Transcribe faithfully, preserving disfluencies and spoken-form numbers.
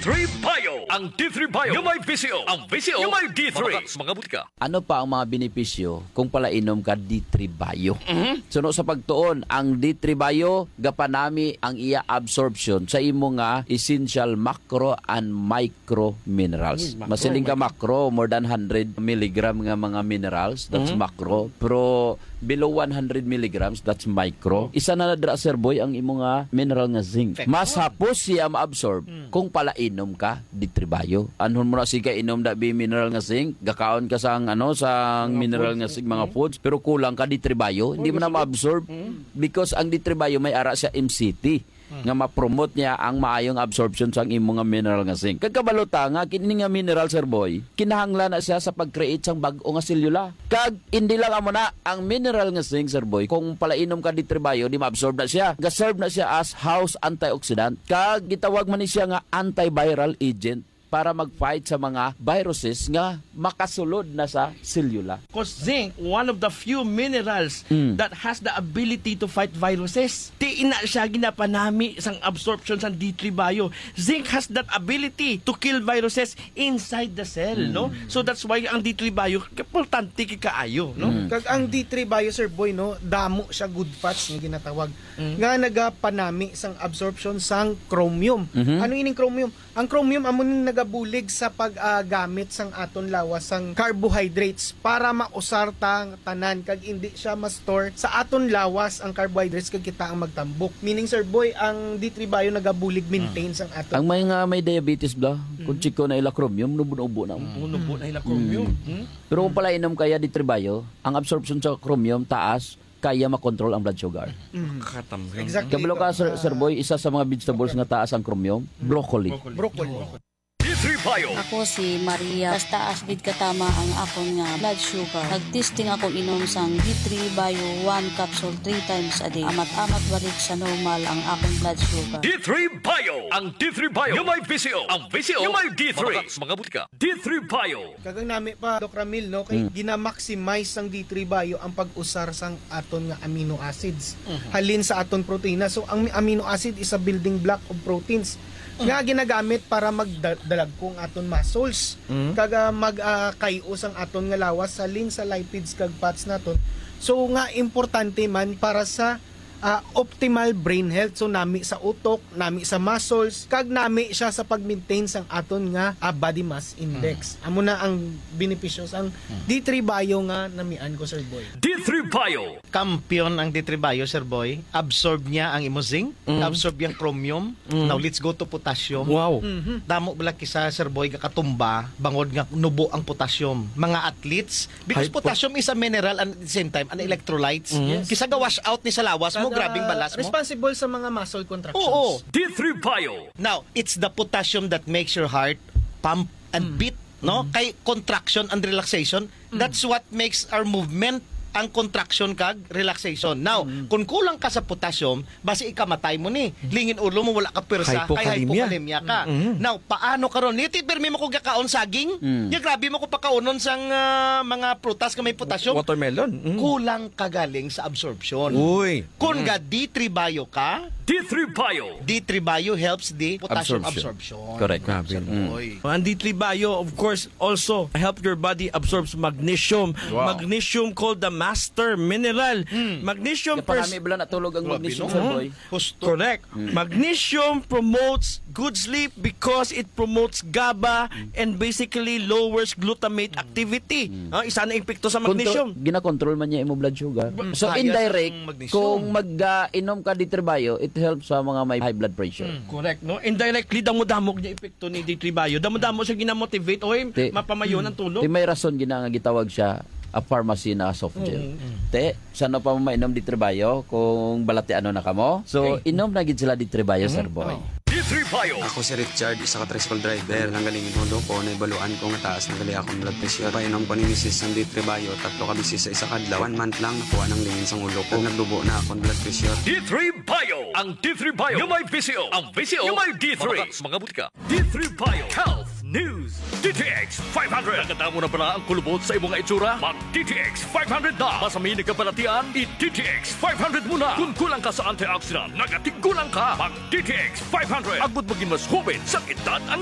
Three Bio. Ang D three Bio nga may bisyo. Ang bisyo nga may D three. Mga butika. Ano pa ang mga benepisyo kung palainom ka D three Bio? Mhm. Suno sa pagtuon, ang D three Bio gapanami ang iya absorption sa imo nga essential macro and micro minerals. Uy, macro, Masiling ka micro. Macro, more than hundred milligram nga mga minerals, that's Mhm. macro. Pero below one hundred milligrams, that's micro. Isa na na dira, Sir Boy, ang imo nga mineral nga zinc. Perfect. Mas hapos siya maabsorb Mm. kung palainom ka D three Bio. Anhon mo na siga inom da bi mineral nga zinc, gakaon ka sang, ano, sang Mga mineral foods, nga zinc, mga mm. foods, pero kulang ka D three Bio, hindi Oy, mo na maabsorb. Mm. Because ang D three Bio may ara siya M C T Mm. nga ma-promote niya ang maayong absorption sang imo nga mineral nga zinc. Kag kabalo ta nga kini nga mineral, Sir Boy, kinahanglan na siya sa pag-create sang bag-o nga selula. Kag hindi lang amo na, ang mineral nga zinc, Sir Boy, kung palainom ka D three Bio, di ma-absorb na siya. Ga-serve na siya as house antioxidant. Kag gitawag man ni siya nga antiviral agent para mag-fight sa mga viruses nga makasulod na sa selula. 'Cause zinc, one of the few minerals Mm. that has the ability to fight viruses. Ti ina siya ginapanami sang absorption sang D three Bio. Zinc has that ability to kill viruses inside the cell, Mm. no? So that's why ang D three Bio, importante kay kaayo, no? Mm. Kag ang D three Bio, Sir Boy, no, damo siya good fats nga ginatawag Mm. nga nagapanami sang absorption sang chromium. Mhm. Ano ining chromium? Ang chromium amo ning nagabulig sa pag, ah, gamit sang aton lawas sang carbohydrates para mausar ta tanan kag indi siya ma-store sa aton lawas ang carbohydrates kag kita ang magtambok. Meaning, Sir Boy, ang D three Bio nagabulig maintain Ah. sang aton. Ang may nga may diabetes bla, kung Mm. chiko na ila chromium, nubo-nubo na. Mm, nubo na ila chromium. Mm. Mm. Pero kung Mm. palainom kaya D three Bio, ang absorption sa chromium taas, kaya makontrol ang blood sugar. Mm. Katam-, Exactly. Kabalo ka, ito. Sir, Sir Boy, isa sa mga vegetables nga taas ang chromium, Mm. broccoli. Broccoli. Broccoli. D three Bio. Ako si Maria. Taas-taas gid katama ang akon nga blood sugar. Nag-testing ako inom sang D three Bio one capsule three times a day. Amat-amat balik sa normal ang akon blood sugar. D three Bio. Ang D three Bio nga may bisyo. Ang bisyo nga may D three. Mga butika. D three Bio. Kag ang nami pa, Doc Ramil, no, kay Mm. gina-maximize sang D three Bio ang pag-usar sang aton nga amino acids Mhm. halin sa aton protina. So, ang amino acid is a building block of proteins Mhm. nga ginagamit para magdalagko ang aton muscles. Mhm. Kag, ah, mag, ah, kay-o sang aton nga lawas halin sa lipids kag fats naton. So, nga importante man para sa ah, optimal brain health. So, nami sa utok, nami sa muscles, kag nami siya sa pag-maintain sang aton nga, ah, body mass index. Hmm. Amo na ang benepisyo sang Hmm. D three Bio nga namian ko, Sir Boy. D three Bio. Kampiyon ang D three Bio, Sir Boy. Absorb niya ang imo zinc, Hmm. absorb yang chromium. Hmm. Now, let's go to potassium. Wow. Mhm. Damo bala kisa, Sir Boy, gakatumba, bangod nga nubo ang potassium. Mga athletes, Because Hypo- potassium is a mineral and at the same time, an electrolytes. Mm. Yes. Kisa ga-wash out ni sa lawas mo, Kada grabing balas mo. Responsible sa mga muscle contractions. Oo. D three Bio. Now, it's the potassium that makes your heart pump and Mm. beat, no? Mm. Kay contraction and relaxation, Mm. that's what makes our movement ang contraction kag relaxation. Now, Mm. kung kulang ka sa potassium, basi ikamatay mo ni. Lingin ulo mo, wala ka pwersa, kay Hypokalemia. hypokalemia ka. Mm-mm. Now, paano karon? Ni ti pirmi mo ko gakaon saging, Mm. nya grabe mo ko pakaunon sang, ah, mga prutas nga may potassium. Watermelon. Mm. Kulang ka galing sa absorption. Uy. Kun Mm. ga D three Bio ka, D three Bio. D three Bio helps the potassium Absorption. absorption. Correct. Grabe, Sir mm. Boy. Ang D three Bio, of course, also help your body absorbs magnesium. Wow. Magnesium called the master mineral. Mm. Magnesium Kaya pers- parami bala natulog ang Grabe, magnesium, no? Sir Boy. Husto. Correct. Mm. Magnesium promotes good sleep because it promotes GABA Mm. and basically lowers glutamate Mm. activity. Mm. Ah, isa na epekto sa Kung to, magnesium. ginakontrol man niya imo blood sugar. Mm. So, Kaya indirect, sa magnesium. kung mag, ah, inom ka D three Bio, it helps sa mga may high blood pressure. Mm. Correct, no? Indirectly, damo-damo niya epekto ni D three Bio. Damo-damo siya ginamotivate. Oy, Ti-, mapamayon ang tulog. ti may rason gina nga gitawag siya a pharmacy na soft gel. Mm, mm. Te, Sa ano pa mo mainom D three Bio kung balatianon na kamo? So, Okay. inom na gid sila D three Bio, Mhm. Sir Boy. Oh. D three Bio. Ako si Richard, isa ka tricycle driver. Nanggaling ang ulo ko, naibaluan ko nga taas na gali akong blood pressure. Painom ko ni misis sang D three Bio, tatlo ka beses sa isa ka adlaw. One month lang, nakuha nang lingin sang ulo ko. Nagdubo na akong blood pressure. D three Bio. Ang D three Bio nga may bisyo. Ang bisyo nga may D three. Mga, mga butika. D three Bio Health News. D T X five hundred. Nakadamo na bala ang kulubot sa imo nga itsura? Mag D T X five hundred na. Basta may nagkabalatian, i D T X five hundred mo na. Kung kulang ka sa antioxidant, nagatigulang ka. Mag D T X five hundred. Agud maging mas hoben sa edad ang